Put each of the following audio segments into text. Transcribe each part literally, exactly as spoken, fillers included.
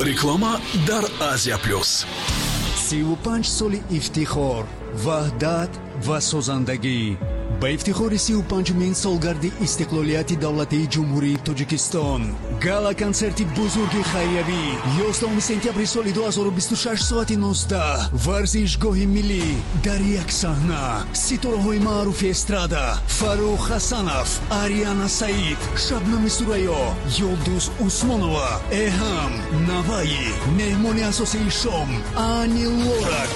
Реклама дар Азия Плюс. Сиву панҷ соли ифтихор, ваҳдат ва созандагӣ. Ба ифтихори сиву панҷумин солгарди истиқлолияти давлатии Ҷумҳурии Тоҷикистон гала-консерти бузурги хайриявӣ ёздаҳуми сентябри соли ду ҳазору бисту шаш соати нуздаҳ, варзишгоҳи миллӣ, дар як саҳна ситораҳои маъруфи эстрада Фаррух Ҳасанов, Ариана Саид, Шабнами Сурайё, Юлдуз Усмонова, Эҳам Наваи, меҳмони асосии шом Ани Лорак.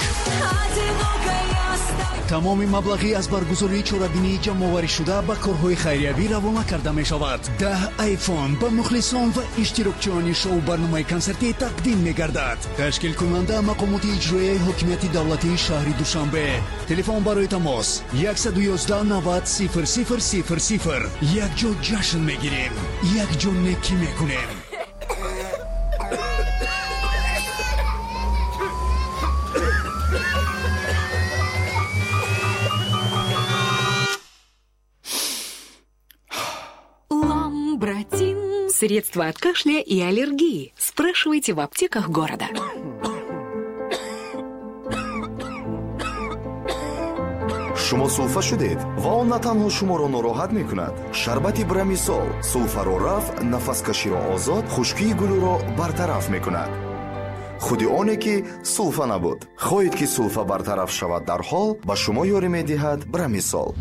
Тамоми маблағи аз баргузории чорабинии ҷамъоварӣшуда ба корҳои хайриявӣ равона карда мешавад. Даҳ айфон ба мухлисон ва иштирокчиёни шоу-барномаи консертӣ тақдим мегардад. Ташкилкунанда мақомоти иҷроияи ҳокимияти давлатии шаҳри Душанбе. Телефон барои тамос яксаду ёздаҳ навад сифр сифр сифр сифр. Якҷо ҷашн мегирем, якҷо некӣ мекунем. Братин. Средства от кашля и аллергии. Спрашивайте в аптеках города. Шумо сулфа шудед ва он на танҳо шуморо нороҳат мекунад. Шарбати Брамисол сулфаро рафъ, нафаскаширо озод, хушкии гулӯро бартараф мекунад. Худи оне ки сулфа набуд. Хоҳед ки сулфа бартараф шавад дарҳол, ба шумо ёрӣ медиҳад Брамисол.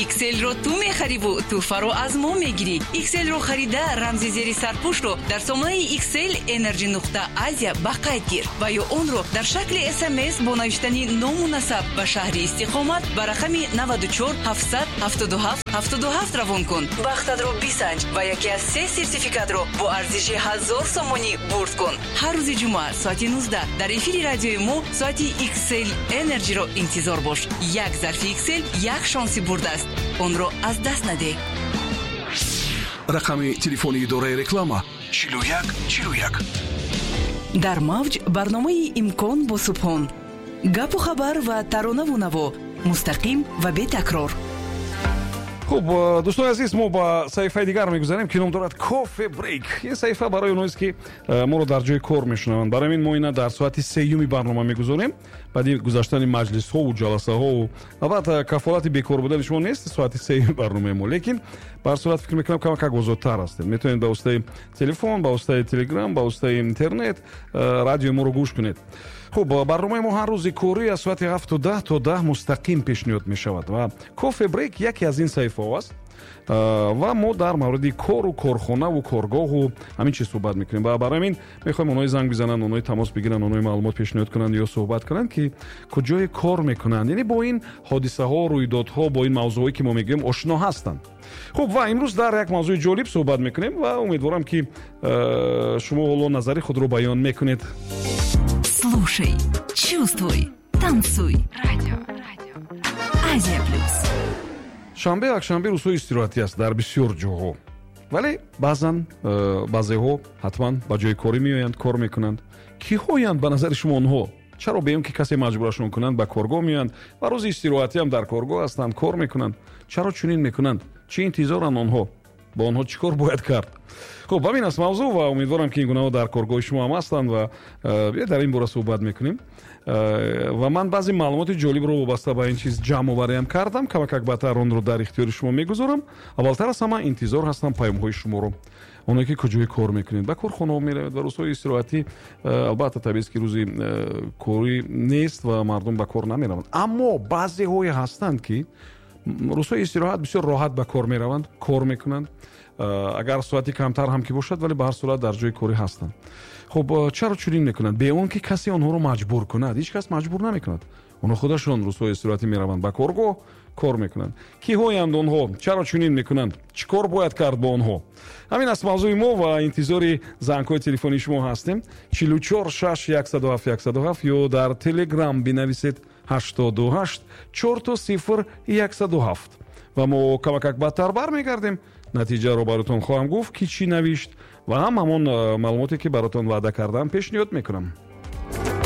Икселро ту мехариву тӯҳфаро аз мо мегирӣ. Икселро харида рамзи зери сарпӯшро дар сомонаи Иксел Energy нуқта Азия ба қайд гир ва ё онро дар шакли С М С бо навиштани ному насаб ба шаҳри истиқомат ба рақами наваду чор ҳафтсад ҳафтоду ҳафт ҳафтоду ҳафт равон кун. Бахтатро бисанҷ ва яке аз се сертификатро бо арзиши ҳазор сомонӣ бурд кун. Ҳар рӯзи ҷумъа соати нуздаҳ дар эфири радиои мо соати Иксел Energy-ро интизор бош. Як зарфи Иксел як шонси бурд аст. Онро аз даст надеҳ. Рақами телефони идораи реклама чилу як чилу як. Дар мавҷ барномаи «Имкон» бо Субҳон. Гапу хабар ва таронаву наво мустақим ва бетакрор. Хуб, дӯстони азиз, мо ба саҳифаи дигар мегузарем, ки ном дорад Кофе Брейк. Ин саҳифа барои онҳоест, ки моро дар ҷои кор мешунаванд. Барои ин мо ина дар соати сеюми барнома мегузорем. Баъди гузаштани маҷлисҳову ҷаласаҳову, албатта, кафолати бекор будани шумо нест соати сеюми барномаи мо, лекин ба ҳар сурат фикр мекунам, камакак озодтар ҳастед. Метавонед ба воситаи телефон, ба воситаи телеграм, ба воситаи интернет радиои моро гӯш кунед. Хуб, барномаи мо ҳар рӯзи корӣ аз соати ҳафту даҳ то даҳ мустақим пешниҳод мешавад ва Кофе Брейк яке аз ин саҳифаҳо аст ва мо дар мавриди кору корхонаву коргоҳу ҳамин чиз суҳбат мекунем. Ва барои ҳамин мехоҳем онҳое занг бизананд, онҳое тамос бигиранд, онҳое маълумот пешниҳод кунанд ё суҳбат кунанд, ки куҷое кор мекунанд, яъне бо ин ҳодисаҳо, рӯйдодҳо, бо ин мавзӯъҳое ки мо мегӯем, ошно ҳастанд. Хуб, ва имрӯз дар як мавзӯи ҷолиб суҳбат мекунем ва умедворам, ки шумо ҳоло назари худро баён мекунед. Слушай, чувствуй, танцуй. Радио, радио. Азия Плюс. Шанбе, якшанбе рӯзҳои истироҳатӣ аст дар бисёр ҷоҳо, вале баъзан э, баъзеҳо ҳатман ба ҷои корӣ меоянд, кор мекунанд. Киҳоянд ба назари шумо онҳо? Чаро беён ки касе маҷбурашон кунанд, ба коргоҳ меоянд ва рӯзи истироҳатиам дар коргоҳ ҳастанд, кор мекунанд? Чаро чунин мекунанд? Чӣ интизоранд онҳо? Бо онҳо чӣ кор бояд кард? Хуб, ҳамин аст мавзӯъ ва умедворам, ки ин гунаҳо дар коргоҳи шумо ҳам ҳастанд ва э, дар ин бора суҳбат мекунем. э, ва ман баъзе маълумоти ҷолибро вобаста ба ин чиз ҷамъовариам кардам, камакак баъдтар онро дар ихтиёри шумо мегузорам. Аввалтар аз ҳама интизор ҳастам паёмҳои шуморо, оное ки куҷое кор мекунед, ба корхонаҳо меравед ва рӯзҳои истироҳатӣ, э, албатта, табиист, ки рӯзи корӣ нест ва мардум ба кор намераванд, аммо баъзеҳое ҳастанд, ки рӯзҳои истироҳат бисёр роҳат ба кор мераванд, кор мекунанд, агар соати камтар ҳам ки бошад, вале ба ҳар сурат дар ҷои корӣ ҳастанд. Хуб, чаро чунин мекунанд, бе он ки касе онҳоро маҷбур кунад? Ҳеҷ кас маҷбур намекунад, онҳо худашон рӯзҳои истироҳатӣ мераванд ба коргоҳ, кор мекунанд. Киҳоянд онҳо? Чаро чунин мекунанд? Чӣ кор бояд кард бо онҳо? Ҳамин аст мавзӯи мо ва интизори зангҳои телефонии шумо ҳастем. Чилу чор шаш яксаду ҳафт яксаду ҳафт ё дар телеграм бинависед ҳаштоду ҳашт чорто сифр яксаду ҳафт ва мо камакак баъдтар бармегардем, натиҷаро баротон хоҳам гуфт, ки чӣ навишт, ва ҳам ҳамон маълумоте ки баротон ваъда кардам, пешниҳод мекунам.